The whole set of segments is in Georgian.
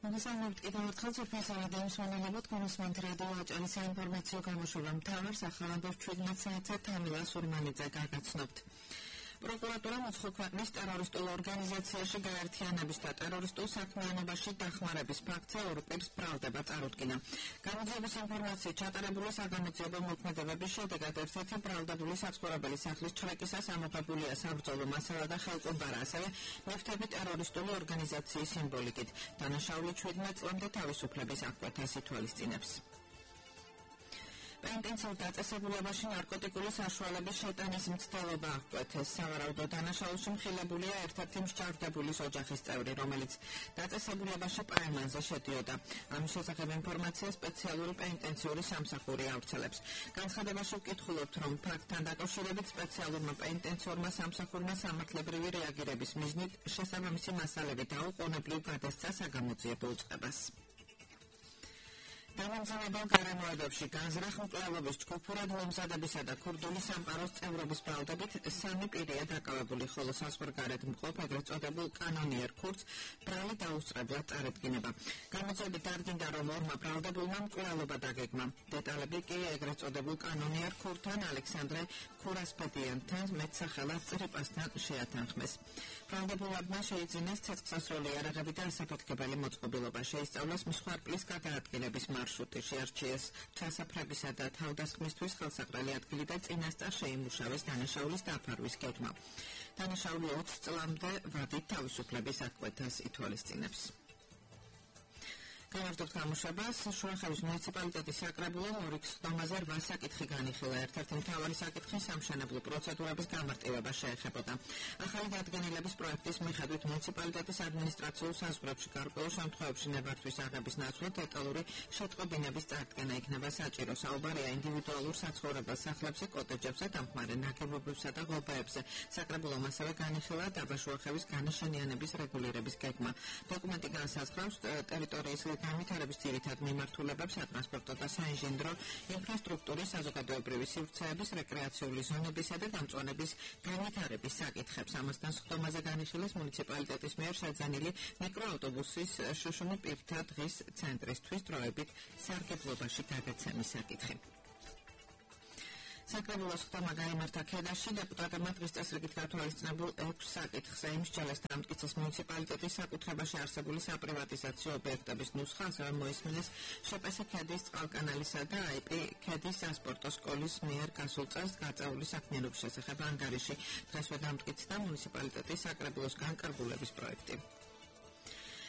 მოგესალმებით კიდევ ერთხელ ციფრისავე დემისვენელებოთ კონსმანთ რადიო აჭარის საინფორმაციო გამოშვება მთავარ სახალხო 17 საათზე თამილა სურმანიძე გაგაცნობთ. პროკურატურა მოცხო ქვეყნის ტერორისტულ ორგანიზაციაში გაერთიანების და ტერორისტულ საქმიანობაში დახმარების ფაქტზე ორ პირს ბრალდება წარუდგინა. გამოძიების ინფორმაციით ჩატარებული საგამოძიებო მოქმედებების შედეგად ერთ-ერთი ბრალდებული საცხოვრებელი სახლის ჩრეკისას ამოღებულია საბრძოლო მასალა და ხელყუმბარა, ასევე ნივთები ტერორისტული ორგანიზაციის სიმბოლიკით. დანაშაული 17 წლამდე თავისუფლების აღკვეთას ითვალისწინებს. პენტენციურ დაწესებულებაში ნარკოტიკული საშუალების შეტანის მცდელობა აღკვეთეს. სავარაუდო დანაშაულში მხილებულია ერთ-ერთი მსჯავრდებულის ოჯახის წევრი, რომელიც დაწესებულებაში პაემანზე შედიოდა. ამის შესახებ ინფორმაცია სპეციალური პენტენციური სამსახური ავრცელებს. განცხადებაში ვკითხულობთ, რომ ფაქტთან დაკავშირებით სპეციალურმა პენტენციურმა სამსახურმა სამართლებრივი რეაგირების მიზნით შესაბამისი მასალები დაუყოვნებლივ გადასცა საგამოძიებო უწყებას. დამამზადებელ გარემოებებში განზრახ მკვლელობის ჯგუფურად მომზადებისა და ქურდული სამყაროს წევრობის ბრალდებით 3 პირია დაკავებული, ხოლო საზღვარგარეთ მყოფ ეგრეთ წოდებულ კანონიერ ქურდს ბრალი დაუსწრებლად წარედგინება. გამოძიებით დარგინდა, რომ ორმა ბრალდებულმა მკვლელობა დაგეგმა. დეტალები კი ეგრეთ წოდებულ კანონიერ ქურდთან ალექსანდრე ქურასფედიანთან მეტსახელად წრიპასთან შეათანხმეს. ბრალდებულებმა შეიძინეს ცეცხლსასროლი იარაღები და ასაფეთქებელი მოწყობილობა, შეისწავლეს მსხვერპლის გადაადგილების მარშრუტი, შეარჩიეს ჩასაფრებისა და თავდასხმისთვის ხელსაყრელი ადგილი და წინასწარ შეიმუშავეს დანაშაულის დაფარვის გეგმა. დანაშაული 20 წლამდე ვადით თავისუფლების აღკვეთას ითვალისწინებს. გამარჯობთ გამოშვებას. შუახევის მუნიციპალიტეტის საკრებულომ 2 ხდომაზე 8 საკითხი განიხილა. ერთ-ერთი მთავარი საკითხი სამშენებლო პროცედურების გამარტივება შეეხებოდა. ახალი დადგენილების პროექტის მიხედვით მუნიციპალიტეტის ადმინისტრაციულ საზღვრებში გარკვეულ შემთხვევებში ნებართვის აღების ნაცვლად დეტალური შეტყობინების წარდგენა იქნება საჭირო. საუბარია ინდივიდუალურ საცხოვრებელ სახლებზე, კოტეჯებზე, დამხმარე ნაგებობებსა და ღობეებზე. საკრებულომ ასევე განიხილა დაბაშუახევის განაშენიანების რეგულირების გეგმა. დოკუმენტი განსაზღვრავს ტერიტორიის განვითარების ძირითად მიმართულებებს, სატრანსპორტო და საინჟინრო ინფრასტრუქტურის, საზოგადოებრივი სივრცეების, რეკრეაციული ზონებისა და დამწვანების განვითარების საკითხებს. ამასთან სხდომაზე განიხილეს მუნიციპალიტეტის მიერ შეძენილი მიკროავტობუსის შუშუნი პირთა დღის ცენტრისთვის დროებით სარგებლობაში გადაცემის საკითხი. საკრებულოს ხდომა გაიმართა ქედაში. დეპუტატებმა დღის წესრიგით გათვალისწინებულ 6 საკითხზე იმსჯელეს და ამტკიცეს მუნიციპალიტეტის საკუთრებაში არსებული sapprivatizāciju ობიექტების ნუსხა, ასევე მოისმინეს შპს ქედის წყალკანალისა და IP ქედის სასპორტო სკოლის მიერ გასულ წელს გაწეული საქმიანობის შესახებ ანგარიში. დღესვე დამტკიცდა მუნიციპალიტეტის საკრებულოს განკარგულების პროექტი.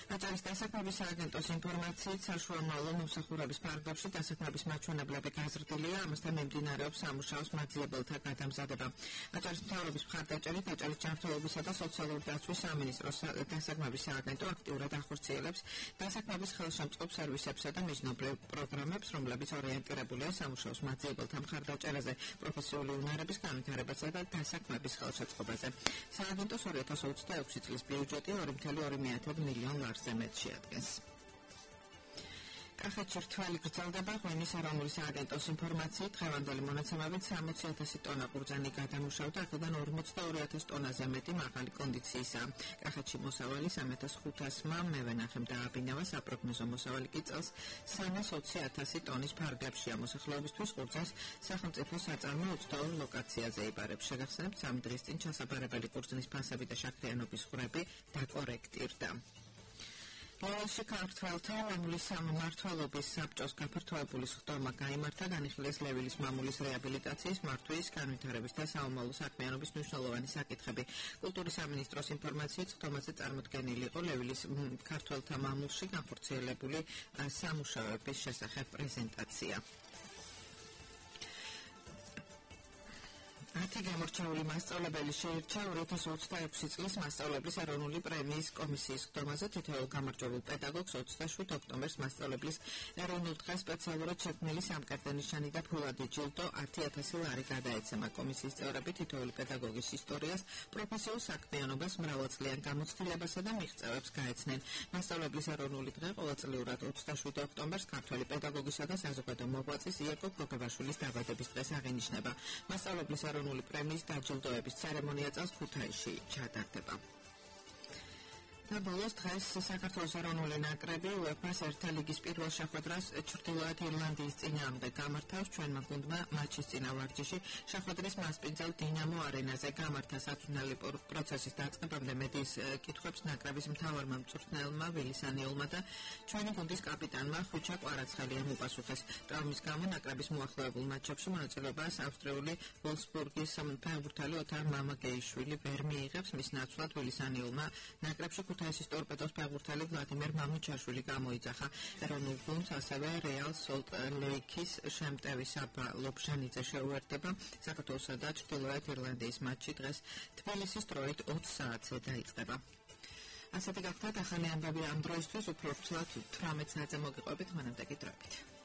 აჭარის დასაქმების სააგენტოს ინფორმაციით საშუალო მომსახურების ფარგლებში დასაქმების მაჩვენებლები გაზრდილია, ამასთან მიმდინარეობს სამუშაოს მაძიებელთა გადამზადება. აჭარის მთავრობის მხარდაჭერით აჭარის ჯანმრთელობისა და სოციალური დაცვის სამინისტროს დასაქმების სააგენტო აქტიურად ახორციელებს დასაქმების ხელშემწყობ სერვისებსა და მიზნობრივ პროგრამებს, რომლებიც ორიენტირებულია სამუშაოს მაძიებელთა მხარდაჭერაზე, პროფესიული უნარების განვითარებასა და დასაქმების ხელშეწყობაზე. სააგენტოს 2026 წლის ბიუჯეტი 2,2 მილიონ ლარზე მეტ შეადგენს. კახეთში რთველი გრძელდება. ღვინის ეროვნული სააგენტოს ინფორმაციით დღევანდელი მონაცემებით 60,000 ტონა ყურძენი გადამუშავდა, აქედან 42,000 ტონაზე მეტი მაღალი კონდიციისაა. კახეთში მოსავალი 3,500-მა მევენახემ დააბინავა, საპროგნოზო მოსავალი კი წელს 320,000 ტონის ფარგლებშია. მოსახლეობისთვის ყურძენს სახელმწიფო საწარმო 22 ლოკაციაზე იბარებს. შეგახსენებთ, 3 დღის წინ ჩასაბარებელი ყურძნის ფასები და შაქრიანობის ხრები დაკორექტირდა. ლევილში ქართველთა მამულის სამმართველობის საბჭოს გაფართოებული ხდომა გაიმართა. განიხილეს ლევილის მამულის რეაბილიტაციის, მართვის, განვითარების და საომალო საქმიანობის მნიშვნელოვანი საკითხები. კულტურის სამინისტროს ინფორმაციით ხდომაზე წარმოდგენილი იყო ლევილის ქართველთა მამულში განხორციელებული სამუშაოების შესახებ პრეზენტაცია. 10 გამორჩეული მასწავლებელი შეირჩა 2026 წლის მასწავლებლის ეროვნული პრემიის კომისიის ხდომაზე. თითოეულ გამარჯვებულ პედაგოგს 27 ოქტომბერს მასწავლებლის ეროვნულ დღეს სპეციალურად შექმნილი სამკერდე ნიშანი და ფულადი ჯილდო 10,000 ლარი გადაეცემა. კომისიის წევრები თითოეული პედაგოგის ისტორიას, პროფესიულ საქმიანობას, მრავალწლიან გამოცდილებასა და მიღწევებს გაეცნენ. მასწავლებლის ეროვნული დღე ყოველწლიურად 27 ოქტომბერს ქართველი პედაგოგისა და საზოგადო მოღვაწის იაკობ გოგებაშვილის დაბადების დღეს აღინიშნება. მასწავლებლის ეროვნული პრემიის დაჯილდოების ცერემონია წელს ქუთაისში ჩატარდება. და ბოლოს დღეს საქართველოს ეროვნული ნაკრები UEFA-ს ერთა ლიგის პირველ შეხვედრას ჩრდილოეთ ირლანდიის წინააღმდეგ გამართავს. ჩვენმა გუნდმა მატჩის წინა ვარჯიში შეხვედრის მასპინძელ დინამო არენაზე გამართა. საწვრთნელი პროცესის დაწყებამდე მედიის კითხვებს ნაკრების მთავარმა მწვრთნელმა ვილისანიულმა და ჩვენი გუნდის კაპიტანმა ხვიჩა კვარაცხელიამ უპასუხეს. ტრავმის გამო ნაკრების მოახლოებულ მატჩებში მონაწილეობას ავსტრიული ვოლფსბურგის ფეხბურთელი ოთარ მამაგეიშვილი ვერ მიიღებს. მის ნაცვლად ვილისანიულმა ნაკრებში ქუთაისის ტორპედოს ფეხბურთელი ვლადიმერ მამუჩაშვილი გამოიძახა. ეროვნულ გუნდს ასევე რეალ სოლტ ლეიქის შემტევი საბა ლობჟანიძე შეუერთდება. საქართველოსა და ჩრდილოეთ ირლანდიის მატჩი დღეს თბილისის დროით 20 საათზე დაიწყება. ასეთი გახლავთ ახალი ამბები ამ დროისთვის, უფრო რთულად 18 საათზე მოგიყვებით, მანამდე კი დროებით.